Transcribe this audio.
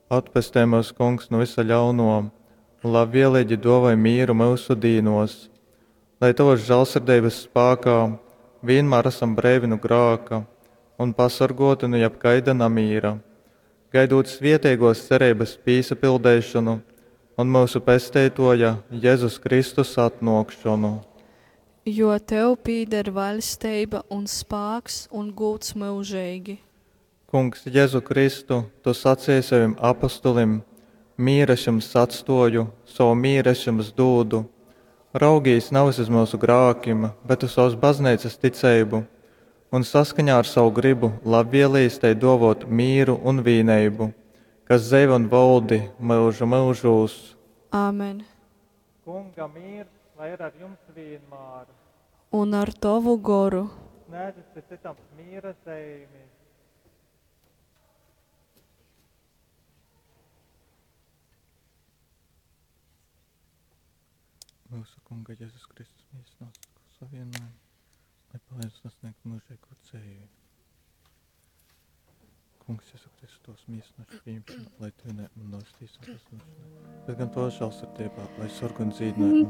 Atpestej myus, Kungs, nu vysa ļaunuo un labvieleigi duovoj mīru myusu dīnuos, lai Tovys žālsirdeibys spākā vīnmār asam breivi nu grāka un pasorguoti nu jebkaida namīra, gaidūt svieteiguos cereibys pīsapildeišonu un myusu Pesteituoja Jezus Kristus atnuokšonu. Jo Tev pīder vaļsteiba un spāks un gūds myužeigi. Kungs Jezu Kristu, Tu saceji sovim apostolim, Mīru es jums atstōju, sovu mīru es jums dūdu. Raugīs navys uz myusu grākim, bet uz sovas Bazneicas ticeibu un saskaņā ar sovu grybu labvielīs tai dōvōt mīru un vīneibu, kas dzeivoj un voldi myužu myužūs. Āmen. Kunga mīrs lai ir ar jums vīnmār. Un ar tovu goru. Snēdzit cyts cytam mīra zeimi. Myusu Kunga Jezus Kristus mīsas nosaka savienojumu, lai palīdz sasniegt mūžīgo dzeivi. Kungs Jezu Kristu tos mīsas nošu pieņemšanu, lai Tu ne un nostīsim pazudušanai, bet gan to žēlsirdībā, lai sorg un dzīdināj un